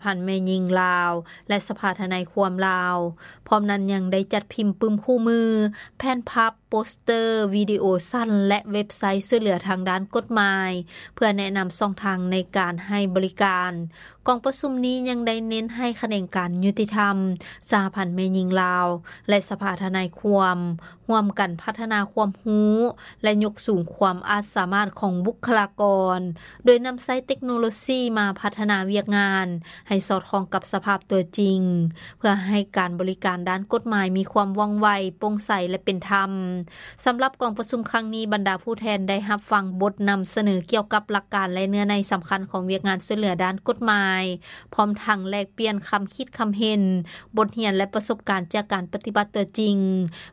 ພັນແມ່ຍິງລາວ ແລະ ສະພາທະນາຍຄວາມລາວ. ພ້ອມນັ້ນຍັງໄດ້ຈັດພິມປຶ້ມຄູ່ມື, ແຜ່ນພັບ, ໂປສເຕີ, ວິດີໂອສັ້ນ ແລະ ເວັບໄຊຊ່ວຍເຫຼືອທາງດ້ານກົດໝາຍ ເພື່ອແນະນຳຊ່ອງທາງໃນການໃຫ້ບໍລິການ. ກອງປະຊຸມນີ້ຍັງໄດ້ເນັ້ນໃຫ້ຂະແໜງການຍຸຕິທຳ, ສະຫະພັນແມ່ຍິງລາວ ແລະ ສະພາທະນາຍຄວາມ ຮ່ວມກັນພັດທະນາຄວາມຮູ້ ແລະ ຍົກສູງຄວາມອາດສາມາດຂອງບຸກຄະລາກອນ, ໂດຍນຳໃຊ້ເຕັກໂນໂລຊີມາພັດທະນາວຽກງານໃຫ້ສອດຄ່ອງກັບສະພາບຕົວຈິງ, ເພື່ອໃຫ້ການບໍລິການດ້ານກົດໝາຍມີຄວາມວ່ອງໄວ, ໂປ່ງໃສ ແລະ ເປັນທຳ. ສຳລັບກອງປະຊຸມຄັ້ງນີ້, ບັນດາຜູ້ແທນໄດ້ຮັບຟັງບົດນຳສະເໜີກ່ຽວກັບຫຼັກການ ແລະ ເນື້ອໃນສຳຄັນຂອງວຽກງານຊ່ວຍເຫຼືອດ້ານກົດໝາຍ, ພ້ອມທັງແລກປ່ຽນຄຳຄິດຄຳເຫັນ, ບົດຮຽນ ແລະ ປະສົບການຈາກການປະຕິບັດຕົວຈິງ,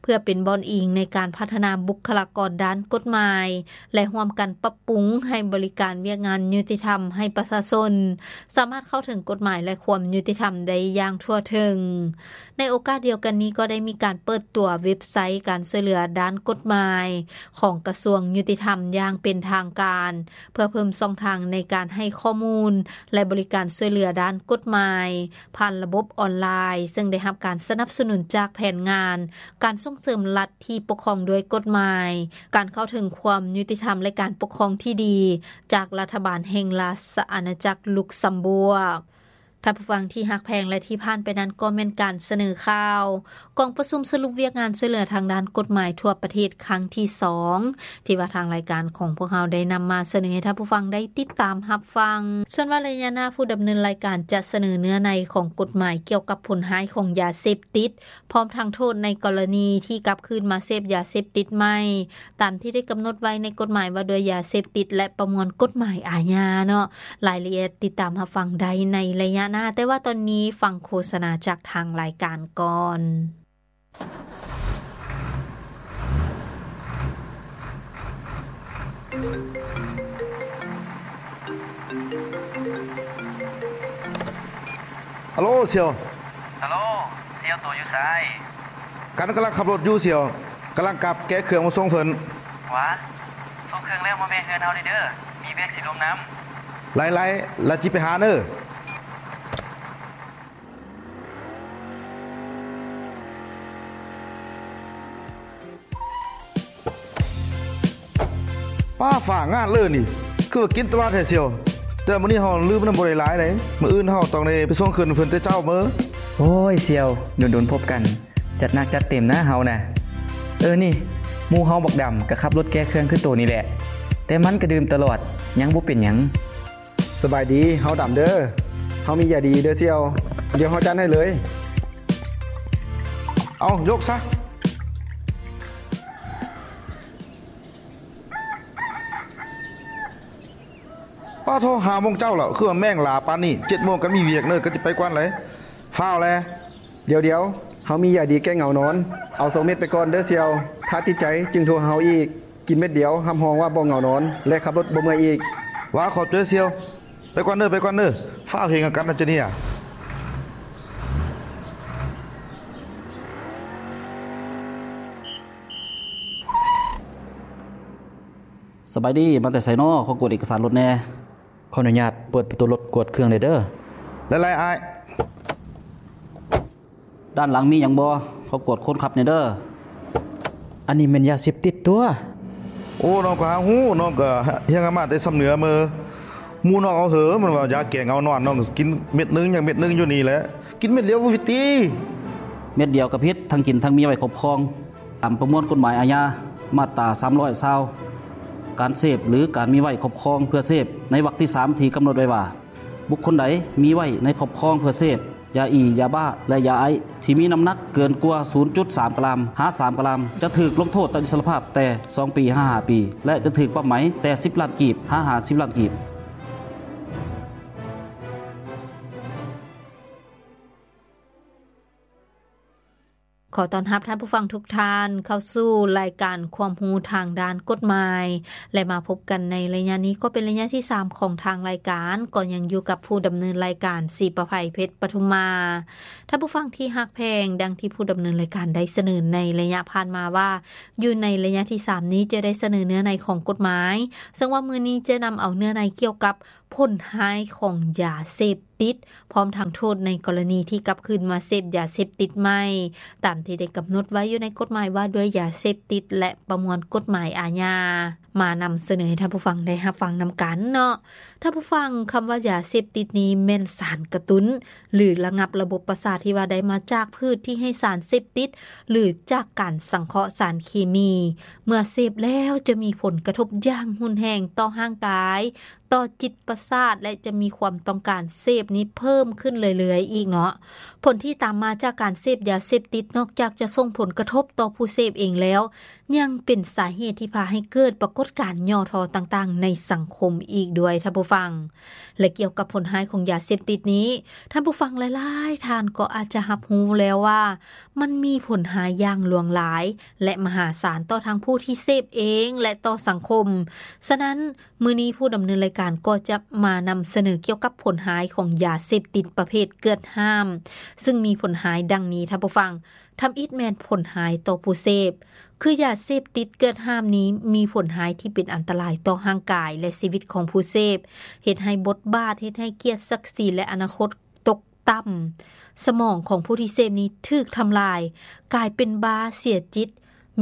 ເພື່ອເປັນບ່ອນອີງໃນການພັດທະນາບຸກຄະລາກອນດ້ານກົດໝາຍ ແລະ ຮ່ວມກັນປັບປຸງໃຫ້ບໍລິການວຽກງານຍຸຕິທຳໃຫ້ປະຊາຊົນ ສາມາດເຂົ້າເຖິງກົດໝາຍ ແລະ ຄວາມຍຸຕິທຳໄດ້ຢ່າງທົ່ວເຖິງ. ໃນໂອກາດດຽວກັນນີ້ ກໍໄດ້ມີການເປີດຕົວເວັບໄຊການຊ່ວຍເຫຼືອດ້ານກົດໝາຍຂອງກະຊວງຍຸຕິທຳຢ່າງເປັນທາງການ, ເພື່ອເພີ່ມຊ່ອງທາງໃນການໃຫ້ຂໍ້ມູນ ແລະ ບໍລິການຊ່ວຍເຫຼືອດ້ານກົດໝາຍຜ່ານລະບົບອອນລາຍ, ເຊິ່ງໄດ້ຮັບການສະໜັບສະໜູນຈາກແຜນງານການສົ່ງເສີມລັດທີ່ປົກຄອງດ້ວຍກົດໝາຍ, ການເຂົ້າເຖິງຄວາມຍຸຕິທຳ ແລະ ການປົກຄອງທີ່ດີ ຈາກລັດຖະບານແຫ່ງລາຊະອານາຈັກລຸກຊຳບວກ. ທ່ານຜູ້ຟັງທີ່ຮັກແພງ ແລະ ທີ່ຜ່ານໄປນັ້ນກໍແມ່ນການສະເໜີຂ່າວ ກອງປະຊຸມສະຫຼຸບວຽກງານຊ່ວຍເຫຼືອທາງດ້ານກົດໝາຍທົ່ວປະເທດຄັ້ງທີສອງ ທີ່ວ່າທາງລາຍການຂອງພວກເຮົາໄດ້ນຳມາສະເໜີໃຫ້ທ່ານຜູ້ຟັງໄດ້ຕິດຕາມຮັບຟັງ. ສ່ວນວ່າໄລຍະໜ້າ ຜູ້ດຳເນີນລາຍການຈະສະເໜີເນື້ອໃນຂອງກົດໝາຍກ່ຽວກັບຜົນຮ້າຍຂອງຢາເສບຕິດ ພ້ອມທັງໂທດໃນກໍລະນີທີ່ກັບຄືນມາເສບຢາເສບຕິດໃໝ່ ຕາມທີ່ໄດ້ກຳນົດໄວ້ໃນກົດໝາຍວ່າດ້ວຍຢາເສບຕິດ ແລະ ປະມວນກົດໝາຍອາຍາເນາະ. ລາຍລະອຽດຕິດຕາມຮັບຟັງໄດ້ໃນໄລຍະໜ້າ, ແຕ່ວ່າຕອນນີ້ຟັງໂຄສະນາຈາກທາງລາຍການກ່ອນ. ຮັລໂຫຼ ສ່ຽວ. ຮັລໂຫຼ ສ່ຽວ ໂຕຢູ່ໃສ? ກັນກຳລັງຂັບລົດຢູ່ສ່ຽວ, ກຳລັງກັບແກະເຄື່ອງມາສົ່ງເພິ່ນ. ຫວາ ສົ່ງເຄື່ອງແລ້ວມາແວ່ເຮືອນເຮົາແດ່ເດີ, ມີວຽກຊິລົມນຳ. ໄລ່ໆ ລະຈິໄປຫາເດີ. ປ້າ ຟ້າງາດເລີຍນີ້ ຄືວ່າກິນຕະຫຼາດແທ້ສ່ຽວ. ແຕ່ມື້ນີ້ເຮົາລືມນຳບໍ່ໄດ້ຫຼາຍໃດ, ມື້ອື່ນເຮົາຕ້ອງໄດ້ໄປສົ່ງເຄື່ອງເພິ່ນແຕ່ເຊົ້າເມີ. ໂອ້ຍ ສ່ຽວ ດົນໆພົບກັນ, ຈັດໜັກຈັດເຕັມນະເຮົານະ. ເອີ ນີ້ ໝູ່ເຮົາບັກດຳກໍຂັບລົດແກະເຄື່ອງຄືໂຕນີ້ແຫຼະ, ແຕ່ມັນກໍດື່ມຕະຫຼອດ ຍັງບໍ່ເປັນຫຍັງ. ສະບາຍດີ, ເຮົາດຳເດີ. ເຮົາມີຢາດີເດີສ່ຽວ, ດຽວເຮົາຈັດໃຫ້ເລີຍ. ເອົາ ຍົກຊະ. ປ້າໂທ, ຫ້າໂມງເຊົ້າແລ້ວ, ຄືວ່າແມ່ງຫຼາປານນີ້. ເຈັດໂມງກໍມີວຽກເນີ, ກໍຊິໄປກ່ອນເລີຍ. ຟ້າວແລ. ດຽວໆ, ເຮົາມີຢາດີແກ້ເຫງົານອນ. ເອົາສອງເມັດໄປກ່ອນເດີສ່ຽວ. ຖ້າຕິດໃຈຈຶ່ງໂທຫາເຮົາອີກ. ກິນເມັດດຽວ ຮັບຮອງວ່າບໍ່ເຫງົານອນ ແລະ ຂັບລົດບໍ່ເມື່ອຍອີກ. ຫວາ ຂອບໃຈສ່ຽວ. ໄປກ່ອນເດີ, ໄປກ່ອນເດີ. ຟ້າວເຮັດຫຍັງກັນນະເຈົ້ານີ້. ສະບາຍດີ, ມາແຕ່ໃສນໍ? ຂໍກວດເອກະສານລົດແດ່. ຂໍອະນຸຍາດເປີດປະຕູລົດກວດເຄື່ອງແດ່ເດີ. ຫຼາຍໆ ອ້າຍ. ດ້ານຫຼັງມີຫຍັງບໍ່? ຂໍກວດຄົນຂັບແດ່ເດີ. ອັນນີ້ແມ່ນຢາເສບຕິດຕົວະ. ໂອ້ ນ້ອງກໍຫາຮູ້, ນ້ອງກໍຮຽນກັນມາແຕ່ຊຳເໜືອເມີ. ໝູ່ນ້ອງເອົາເຫີ, ມັນວ່າຢາແກ້ເຫງົານອນ, ນ້ອງກໍກິນເມັດໜຶ່ງ ຍັງເມັດໜຶ່ງຢູ່ນີ້ແຫຼະ. ກິນເມັດດຽວບໍ່ຜິດຕິ? ເມັດດຽວກໍຜິດ, ທັງກິນທັງມີໄວ້ຄອບຄອງ. ຕາມປະມວນກົດໝາຍອາຍາ ມາດຕາສາມຮ້ອຍຊາວ ການເສບ ຫຼື ການມີໄວ້ຄອບຄອງເພື່ອເສບ ໃນວັກທີສາມ ທີ່ກຳນົດໄວ້ວ່າ ບຸກຄົນໃດມີໄວ້ໃນຄອບຄອງເພື່ອເສບ ຢາອີ, ຢາບ້າ ແລະ ຢາໄອສ໌ ທີ່ມີນ້ຳໜັກເກີນກວ່າສູນຈຸດສາມກຣາມ ຫາ ສາມກຣາມ ຈະຖືກລົງໂທດຕັດອິດສະລະພາບແຕ່ສອງປີ ຫາ ຫ້າປີ ແລະ ຈະຖືກປັບໃໝແຕ່ສິບລ້ານກີບ ຫາ ຫ້າສິບລ້ານກີບ. ຂໍຕ້ອນຮັບທ່ານຜູ້ຟັງທຸກທ່ານເຂົ້າສູ່ລາຍການຄວາມຮູ້ທາງດ້ານກົດໝາຍ ແລະ ມາພົບກັນໃນໄລຍະນີ້ ກໍເປັນໄລຍະທີສາມຂອງທາງລາຍການ, ກໍຍັງຢູ່ກັບຜູ້ດຳເນີນລາຍການ ສີປະໄພ ເພັດປະທຸມມາ. ທ່ານຜູ້ຟັງທີ່ຮັກແພງ, ດັ່ງທີ່ຜູ້ດຳເນີນລາຍການໄດ້ສະເໜີໃນໄລຍະຜ່ານມາວ່າ, ຢູ່ໃນໄລຍະທີສາມນີ້ຈະໄດ້ສະເໜີເນື້ອໃນຂອງກົດໝາຍ, ເຊິ່ງວ່າມື້ນີ້ຈະນຳເອົາເນື້ອໃນກ່ຽວກັບຜົນຮ້າຍຂອງຢາເສບ ຕິດ ພ້ອມທັງໂທດໃນກໍລະນີທີ່ກັບຄືນມາເສບຢາເສບຕິດໃໝ່ ຕາມທີ່ໄດ້ກຳນົດໄວ້ຢູ່ໃນກົດໝາຍວ່າດ້ວຍຢາເສບຕິດ ແລະ ປະມວນກົດໝາຍອາຍາ ມານຳສະເໜີໃຫ້ທ່ານຜູ້ຟັງໄດ້ຮັບຟັງນຳກັນເນາະ. ທ່ານຜູ້ຟັງ, ຄຳວ່າຢາເສບຕິດນີ້ແມ່ນສານກະຕຸ້ນ ຫຼື ລະງັບລະບົບປະສາດທີ່ວ່າໄດ້ມາຈາກພືດທີ່ໃຫ້ສານເສບຕິດ ຫຼື ຈາກການສັງເຄາະສານເຄມີ. ເມື່ອເສບແລ້ວຈະມີຜົນກະທົບຢ່າງຮຸນແຮງຕໍ່ຮ່າງກາຍ, ຕໍ່ຈິດປະສາດ ແລະ ຈະມີຄວາມຕ້ອງການເສບນີ້ເພີ່ມຂຶ້ນເລື້ອຍໆອີກເນາະ. ຜົນທີ່ຕາມມາຈາກການເສບຢາເສບຕິດ ນອກຈາກຈະສົ່ງຜົນກະທົບຕໍ່ຜູ້ເສບເອງແລ້ວ, ຍັງເປັນສາເຫດທີ່ພາໃຫ້ເກີດປາກົດການຫຍໍ້ທໍ້ຕ່າງໆໃນສັງຄົມອີກດ້ວຍ, ທ່ານຜູ້ຟັງ. ແລະ ກ່ຽວກັບຜົນຮ້າຍຂອງຢາເສບຕິດນີ້, ທ່ານຜູ້ຟັງຫຼາຍໆທ່ານກໍອາດຈະຮັບຮູ້ແລ້ວວ່າ ມັນມີຜົນຮ້າຍຢ່າງຫຼວງຫຼາຍ ແລະ ມະຫາສານຕໍ່ທັງຜູ້ທີ່ເສບເອງ ແລະ ຕໍ່ສັງຄົມ. ສະນັ້ນ, ມື້ນີ້ຜູ້ດຳເນີນລາຍການກໍຈະມານຳສະເໜີກ່ຽວກັບຜົນຮ້າຍຂອງຢາເສບຕິດປະເພດເກືອດຫ້າມ, ຊຶ່ງມີຜົນຮ້າຍດັ່ງນີ້, ທ່ານຜູ້ຟັງ. ທຳອິດແມ່ນຜົນຮ້າຍຕໍ່ຜູ້ເສບ, ຄືຢາເສບຕິດເກືອດຫ້າມນີ້ມີຜົນຮ້າຍທີ່ເປັນອັນຕະລາຍຕໍ່ຮ່າງກາຍ ແລະ ຊີວິດຂອງຜູ້ເສບ, ເຮັດໃຫ້ບົດບາດ, ເຮັດໃຫ້ກຽດສັກສີ ແລະ ອະນາຄົດຕົກຕ່ຳ. ສະໝອງຂອງຜູ້ທີ່ເສບນີ້ຖືກທຳລາຍ, ກາຍເປັນບ້າເສຍຈິດ,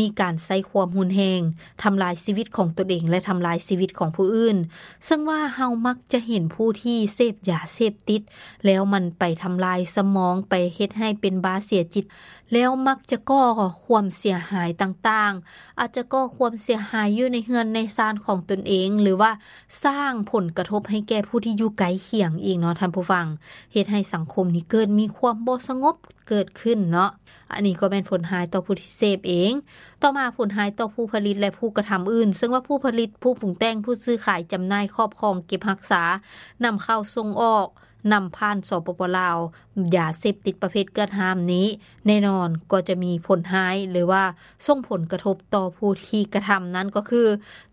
ມີການໃຊ້ຄວາມຮຸນແຮງ, ທຳລາຍຊີວິດຂອງຕົນເອງ ແລະ ທຳລາຍຊີວິດຂອງຜູ້ອື່ນ. ເຊິ່ງວ່າເຮົາມັກຈະເຫັນຜູ້ທີ່ເສບຢາເສບຕິດ ແລ້ວມັນໄປທຳລາຍສະໝອງ, ໄປເຮັດໃຫ້ເປັນບ້າເສຍຈິດ, ແລ້ວມັກຈະກໍ່ຄວາມເສຍຫາຍຕ່າງໆ, ອາດຈະກໍ່ຄວາມເສຍຫາຍຢູ່ໃນເຮືອນໃນຊານຂອງຕົນເອງ ຫຼືວ່າສ້າງຜົນກະທົບໃຫ້ແກ່ຜູ້ທີ່ຢູ່ໃກ້ຄຽງອີກເນາະ ທ່ານຜູ້ຟັງ, ເຮັດໃຫ້ສັງຄົມນີ້ເກີດມີຄວາມບໍ່ສະຫງົບເກີດຂຶ້ນເນາະ. ອັນນີ້ກໍແມ່ນຜົນຮ້າຍຕໍ່ຜູ້ທີ່ເສບເອງ. ຕໍ່ມາ, ຜົນຮ້າຍຕໍ່ຜູ້ຜະລິດ ແລະ ຜູ້ກະທຳອື່ນ, ເຊິ່ງວ່າຜູ້ຜະລິດ, ຜູ້ປຸງແຕ່ງ, ຜູ້ຊື້ຂາຍ, ຈຳໜ່າຍ, ຄອບຄອງ, ເກັບຮັກສາ, ນຳເຂົ້າ, ສົ່ງອອກ, ນຳຜ່ານ ສປປ ລາວ, ຢາເສບຕິດປະເພດເກືອດຫ້າມນີ້, ແນ່ນອນກໍຈະມີຜົນຮ້າຍ ຫຼືວ່າສົ່ງຜົນກະທົບຕໍ່ຜູ້ທີ່ກະທຳ, ນັ້ນກໍຄື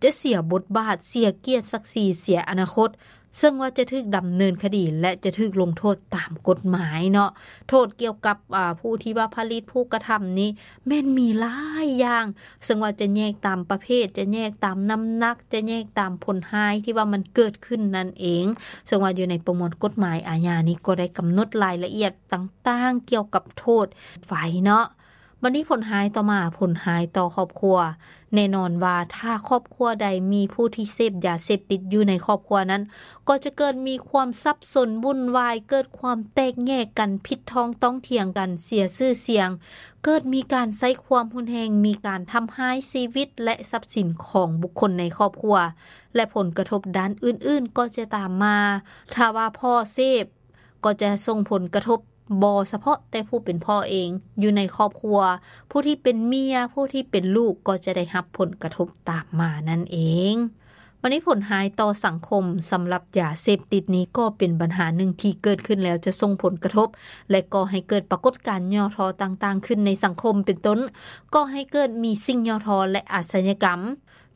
ຈະເສຍບົດບາດ, ເສຍກຽດສັກສີ, ເສຍອະນາຄົດ, ເຊິ່ງວ່າຈະຖືກດຳເນີນຄະດີ ແລະ ຈະຖືກລົງໂທດຕາມກົດໝາຍເນາະ. ໂທດກ່ຽວກັບ, ອາ, ຜູ້ທີ່ວ່າຜະລິດ, ຜູ້ກະທຳນີ້ ແມ່ນມີຫຼາຍຢ່າງ, ເຊິ່ງວ່າຈະແຍກຕາມປະເພດ, ຈະແຍກຕາມນ້ຳໜັກ, ຈະແຍກຕາມຜົນຮ້າຍທີ່ວ່າມັນເກີດຂຶ້ນນັ້ນເອງ, ເຊິ່ງວ່າຢູ່ໃນປະມວນກົດໝາຍອາຍານີ້ກໍໄດ້ກຳນົດລາຍລະອຽດຕ່າງໆກ່ຽວກັບໂທດໄວ້ເນາະ. ບັດນີ້ຜົນຮ້າຍຕໍ່ມາ, ຜົນຮ້າຍຕໍ່ຄອບຄົວ. ແນ່ນອນວ່າຖ້າຄອບຄົວໃດມີຜູ້ທີ່ເສບຢາເສບຕິດຢູ່ໃນຄອບຄົວນັ້ນ, ກໍຈະເກີດມີຄວາມສັບສົນວຸ່ນວາຍ, ເກີດຄວາມແຕກແຍກກັນ, ຜິດທ້ອງຕ້ອງຖຽງກັນ, ເສຍຊື່ສຽງ, ເກີດມີການໃຊ້ຄວາມຮຸນແຮງ, ມີການທຳຮ້າຍຊີວິດ ແລະ ຊັບສິນຂອງບຸກຄົນໃນຄອບຄົວ ແລະ ຜົນກະທົບດ້ານອື່ນໆກໍຈະຕາມມາ. ຖ້າວ່າພໍ່ເສບ, ກໍຈະສົ່ງຜົນກະທົບ ບໍ່ສະເພາະແຕ່ຜູ້ເປັນພໍ່ເອງ, ຢູ່ໃນຄອບຄົວ, ຜູ້ທີ່ເປັນເມຍ, ຜູ້ທີ່ເປັນລູກ ກໍຈະໄດ້ຮັບຜົນກະທົບຕາມມານັ້ນເອງ. ບັດນີ້ຜົນຮ້າຍຕໍ່ສັງຄົມ, ສຳລັບຢາເສບຕິດນີ້ກໍເປັນບັນຫາໜຶ່ງທີ່ເກີດຂຶ້ນແລ້ວຈະສົ່ງຜົນກະທົບ ແລະ ກໍ່ໃຫ້ເກີດປາກົດການຫຍໍ້ທໍ້ຕ່າງໆຂຶ້ນໃນສັງຄົມ, ເປັນຕົ້ນ, ກໍ່ໃຫ້ເກີດມີສິ່ງຫຍໍ້ທໍ້ ແລະ ອາຊະຍາກຳ.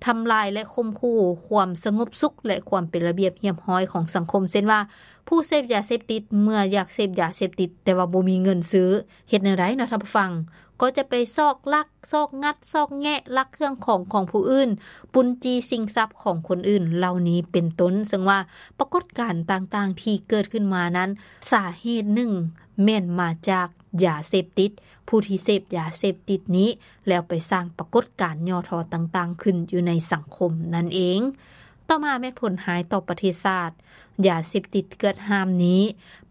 ທຳລາຍ ແລະ ຂົ່ມຂູ່ຄວາມສະຫງົບສຸກ ແລະ ຄວາມເປັນລະບຽບຮຽບຮ້ອຍຂອງສັງຄົມ, ເຊັ່ນວ່າ ຜູ້ເສບຢາເສບຕິດ ເມື່ອຢາກເສບຢາເສບຕິດ ແຕ່ວ່າບໍ່ມີເງິນຊື້ ເຮັດແນວໃດເນາະທ່ານຜູ້ຟັງ? ກໍຈະໄປຊອກລັກ, ຊອກງັດ, ຊອກແງະ, ລັກເຄື່ອງຂອງຂອງຜູ້ອື່ນ, ປຸ້ນຈີ້ຊິງຊັບຂອງຄົນອື່ນ ເຫຼົ່ານີ້ເປັນຕົ້ນ. ເຊິ່ງວ່າປາກົດການຕ່າງໆທີ່ເກີດຂຶ້ນມານັ້ນ ສາເຫດໜຶ່ງແມ່ນມາຈາກ ຢາເສບຕິດ, ຜູ້ທີ່ເສບຢາເສບຕິດນີ້ ແລ້ວໄປສ້າງປາກົດການຫຍໍ້ທໍ້ຕ່າງໆຂຶ້ນຢູ່ໃນສັງຄົມນັ້ນເອງ. ຕໍ່ມາແມ່ນຜົນຮ້າຍຕໍ່ປະເທດຊາດ. ຢາເສບຕິດເກືອດຫ້າມນີ້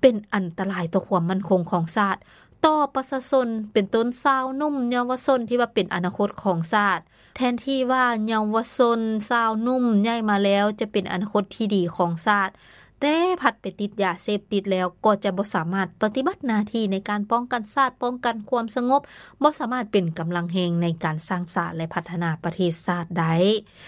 ເປັນອັນຕະລາຍຕໍ່ຄວາມໝັ້ນຄົງຂອງຊາດ, ຕໍ່ປະຊາຊົນ, ເປັນຕົ້ນຊາວໜຸ່ມເຍົາວະຊົນທີ່ວ່າເປັນອະນາຄົດຂອງຊາດ. ແທນທີ່ວ່າເຍົາວະຊົນ, ຊາວໜຸ່ມໃຫຍ່ມາແລ້ວຈະເປັນອະນາຄົດທີ່ດີຂອງຊາດ, ແຕ່ພັດໄປຕິດຢາເສບຕິດແລ້ວ ກໍຈະບໍ່ສາມາດປະຕິບັດໜ້າທີ່ໃນການປ້ອງກັນຊາດ, ປ້ອງກັນຄວາມສະຫງົບ, ບໍ່ສາມາດເປັນກຳລັງແຮງໃນການສ້າງສາ ແລະ ພັດທະນາປະເທດຊາດໄດ້.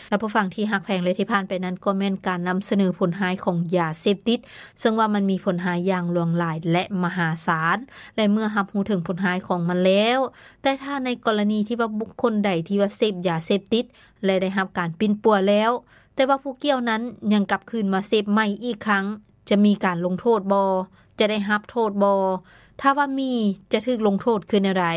ທ່ານຜູ້ຟັງທີ່ຮັກແພງ ແລະ ທີ່ຜ່ານໄປນັ້ນ ກໍແມ່ນການນຳສະເໜີຜົນຮ້າຍຂອງຢາເສບຕິດ, ເຊິ່ງວ່າມັນມີຜົນຮ້າຍຢ່າງຫຼວງຫຼາຍ ແລະ ມະຫາສານ, ແລະ ເມື່ອຮັບຮູ້ເຖິງຜົນຮ້າຍຂອງມັນແລ້ວ, ແຕ່ຖ້າໃນກໍລະນີທີ່ວ່າບຸກຄົນໃດທີ່ວ່າເສບຢາເສບຕິດ ແລະ ໄດ້ຮັບການປິ່ນປົວແລ້ວ, ແຕ່ວ່າຜູ້ກ່ຽວນັ້ນຍັງກັບຄືນມາເສບໃໝ່ອີກຄັ້ງ, ຈະມີການລົງໂທດບໍ່? ຈະໄດ້ຮັບໂທດບໍ່? ຖ້າວ່າມີ, ຈະຖືກລົງໂທດຄືແນວໃດ?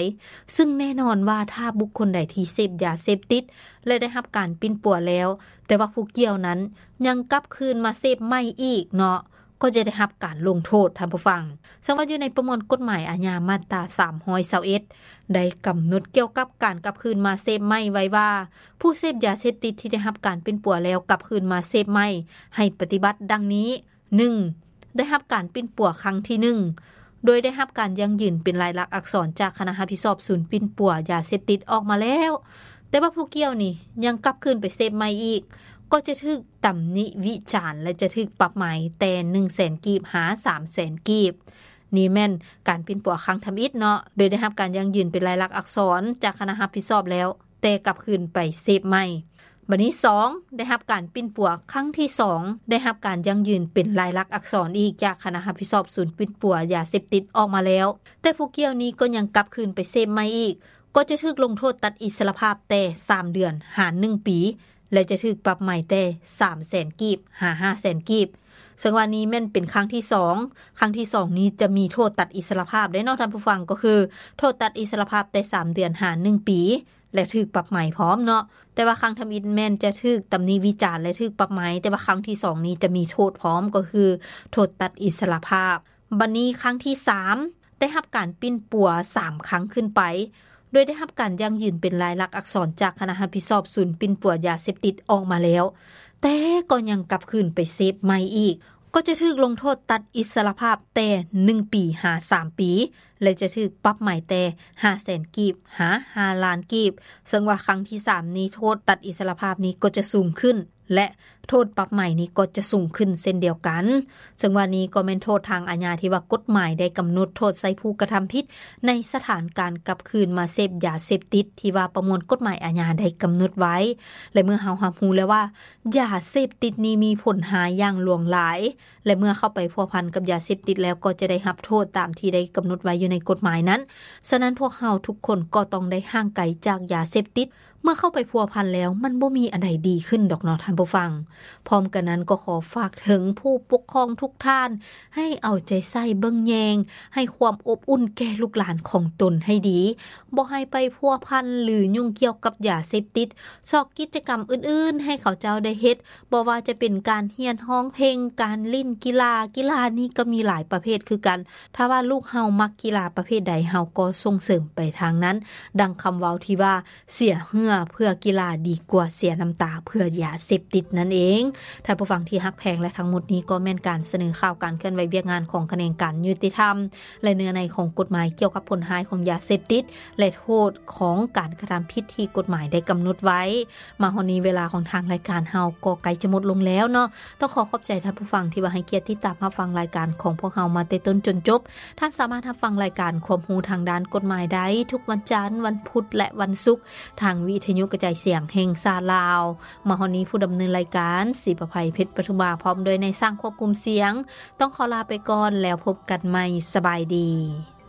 ຊຶ່ງແນ່ນອນວ່າຖ້າບຸກຄົນໃດທີ່ເສບຢາເສບຕິດ ແລະ ໄດ້ຮັບການປິ່ນປົວແລ້ວ, ແຕ່ວ່າຜູ້ກ່ຽວນັ້ນຍັງກັບຄືນມາເສບໃໝ່ອີກເນາະ, ກໍຈະໄດ້ຮັບການລົງໂທດ ທ່ານຜູ້ຟັງ. ເຊິ່ງວ່າຢູ່ໃນປະມວນກົດໝາຍອາຍາມາດຕາສາມຮ້ອຍຊາວເອັດ ໄດ້ກຳນົດກ່ຽວກັບການກັບຄືນມາເສບໃໝ່ໄວ້ວ່າ ຜູ້ເສບຢາເສບຕິດທີ່ໄດ້ຮັບການປິ່ນປົວແລ້ວກັບຄືນມາເສບໃໝ່ ໃຫ້ປະຕິບັດດັ່ງນີ້: ໜຶ່ງ ໄດ້ຮັບການປິ່ນປົວຄັ້ງທີໜຶ່ງ ໂດຍໄດ້ຮັບການຢັ້ງຢືນເປັນລາຍລັກອັກສອນຈາກຄະນະຮັບຜິດຊອບສູນປິ່ນປົວຢາເສບຕິດອອກມາແລ້ວ, ແຕ່ວ່າຜູ້ກ່ຽວນີ້ຍັງກັບຄືນໄປເສບໃໝ່ອີກ, ກໍຈະຖືກຕຳໜິວິຈານ ແລະ ຈະຖືກປັບໃໝແຕ່ໜຶ່ງແສນກີບຫາສາມແສນກີບ. ນີ້ແມ່ນການປິ່ນປົວຄັ້ງທຳອິດເນາະ, ໂດຍໄດ້ຮັບການຢັ້ງຢືນເປັນລາຍລັກອັກສອນຈາກຄະນະຮັບຜິດຊອບແລ້ວ, ແຕ່ກັບຄືນໄປເສບໃໝ່. ບັດນີ້ ສອງ ໄດ້ຮັບການປິ່ນປົວຄັ້ງທີສອງ ໄດ້ຮັບການຢັ້ງຢືນເປັນລາຍລັກອັກສອນອີກຈາກຄະນະຮັບຜິດຊອບສູນປິ່ນປົວຢາເສບຕິດອອກມາແລ້ວ, ແຕ່ຜູ້ກ່ຽວນີ້ກໍຍັງກັບຄືນໄປເສບໃໝ່ອີກ, ກໍຈະຖືກລົງໂທດຕັດອິດສະຫຼະພາບແຕ່ສາມເດືອນຫາໜຶ່ງປີ ແລະ ຈະຖືກປັບໃໝແຕ່ສາມແສນກີບຫາຫ້າແສນກີບ. ເຊິ່ງວ່ານີ້ແມ່ນເປັນຄັ້ງທີສອງ, ຄັ້ງທີສອງນີ້ຈະມີໂທດຕັດອິດສະຫຼະພາບເດ້ເນາະທ່ານຜູ້ຟັງ, ກໍຄືໂທດຕັດອິດສະຫຼະພາບແຕ່ສາມເດືອນຫາໜຶ່ງປີ ແລະ ຖືກປັບໃໝພ້ອມເນາະ. ແຕ່ວ່າຄັ້ງທຳອິດແມ່ນຈະຖືກຕຳໜິວິຈານ ແລະ ຖືກປັບໃໝ, ແຕ່ວ່າຄັ້ງທີສອງນີ້ຈະມີໂທດພ້ອມ, ກໍຄືໂທດຕັດອິດສະຫຼະພາບ. ບັດນີ້ຄັ້ງທີສາມ ໄດ້ຮັບການປິ່ນປົວສາມຄັ້ງຂຶ້ນໄປ, ໂດຍໄດ້ຮັບການຢັ້ງຢືນເປັນລາຍລັກອັກສອນຈາກຄະນະຮັບຜິດຊອບສູນປິ່ນປົວຢາເສບຕິດອອກມາແລ້ວ, ແຕ່ກໍຍັງກັບຄືນໄປເສບໃໝ່ອີກ, ກໍຈະຖືກລົງໂທດຕັດອິດສະຫຼະພາບແຕ່ໜຶ່ງປີຫາສາມປີ ແລະ ຈະຖືກປັບໃໝແຕ່ຫ້າແສນກີບຫາຫ້າລ້ານກີບ. ເຊິ່ງວ່າຄັ້ງທີສາມນີ້ ໂທດຕັດອິດສະຫຼະພາບນີ້ກໍຈະສູງຂຶ້ນ ແລະ ໂທດປັບໃໝນີ້ກໍຈະສູງຂຶ້ນເຊັ່ນດຽວກັນ. ເຊິ່ງວ່ານີ້ກໍແມ່ນໂທດທາງອາຍາທີ່ວ່າກົດໝາຍໄດ້ກຳນົດໂທດໃສ່ຜູ້ກະທຳຜິດໃນສະຖານການກັບຄືນມາເສບຢາເສບຕິດທີ່ວ່າປະມວນກົດໝາຍອາຍາໄດ້ກຳນົດໄວ້. ແລະ ເມື່ອເຮົາຮັບຮູ້ແລ້ວວ່າຢາເສບຕິດນີ້ມີຜົນຮ້າຍຢ່າງຫຼວງຫຼາຍ, ແລະ ເມື່ອເຂົ້າໄປພົວພັນກັບຢາເສບຕິດແລ້ວ ກໍຈະໄດ້ຮັບໂທດຕາມທີ່ໄດ້ກຳນົດໄວ້ຢູ່ໃນກົດໝາຍນັ້ນ. ສະນັ້ນ ພວກເຮົາທຸກຄົນກໍຕ້ອງໄດ້ຫ່າງໄກຈາກຢາເສບຕິດ. ເມື່ອເຂົ້າໄປພົວພັນແລ້ວ ມັນບໍ່ມີອັນໃດດີຂຶ້ນດອກເນາະທ່ານຜູ້ຟັງ. ພ້ອມກັນນັ້ນ ກໍຂໍຝາກເຖິງຜູ້ປົກຄອງທຸກທ່ານ ໃຫ້ເອົາໃຈໃສ່ເບິ່ງແຍງ ໃຫ້ຄວາມອົບອຸ່ນແກ່ລູກຫຼານຂອງຕົນໃຫ້ດີ, ບໍ່ໃຫ້ໄປພົວພັນ ຫຼື ຫຍຸ້ງກ່ຽວກັບຢາເສບຕິດ. ຊອກກິດຈະກຳອື່ນໆໃຫ້ເຂົາເຈົ້າໄດ້ເຮັດ, ບໍ່ວ່າຈະເປັນການຮຽນຮ້ອງເພງ, ການຫຼິ້ນກິລາ, ກິລານີ້ກໍມີຫຼາຍປະເພດຄືກັນ. ຖ້າວ່າລູກເຮົາມັກກິລາປະເພດໃດ, ເຮົາກໍສົ່ງເສີມໄປທາງນັ້ນ. ດັ່ງຄຳເວົ້າທີ່ວ່າ ເສຍເຫື່ອເພື່ອກິລາດີກວ່າເສຍນ້ຳຕາເພື່ອຢາເສບຕິດນັ້ນເອງ. ທ່ານຜູ້ຟັງທີ່ຮັກແພງ ແລະ ທັງໝົດນີ້ກໍແມ່ນການສະເໜີຂ່າວການເຄື່ອນໄຫວວຽກງານຂອງຂະແໜງການຍຸຕິທຳ ແລະ ເນື້ອໃນຂອງກົດໝາຍກ່ຽວກັບຜົນຮ້າຍຂອງຢາເສບຕິດ ແລະ ໂທດຂອງການກະທຳຜິດທີ່ກົດໝາຍໄດ້ກຳນົດໄວ້. ມາຮອດນີ້ເວລາຂອງທາງລາຍການເຮົາກໍໃກ້ຈະໝົດລົງແລ້ວເນາະ. ຕ້ອງຂໍຂອບໃຈທ່ານຜູ້ຟັງທີ່ວ່າໃຫ້ກຽດຕິດຕາມຮັບຟັງລາຍການຂອງພວກເຮົາມາແຕ່ຕົ້ນຈົນຈົບ. ທ່ານສາມາດຮັບຟັງລາຍການຄວາມຮູ້ທາງດ້ານກົດໝາຍໄດ້ທຸກວັນຈັນ, ວັນພຸດ ແລະ ວັນສຸກ ທາງວິທະຍຸກະຈາຍສຽງແຫ່ງຊາດລາວ. ມາຮອດນີ້ຜູ້ດຳເນີນລາຍການ ສີປະໄພ ເພັດປະທຸມາ ພ້ອມດ້ວຍນາຍຊ່າງຄວບຄຸມສຽງ ຕ້ອງຂໍລາໄປກ່ອນ ແລ້ວພົບກັນໃໝ່. ສະບາຍດີ.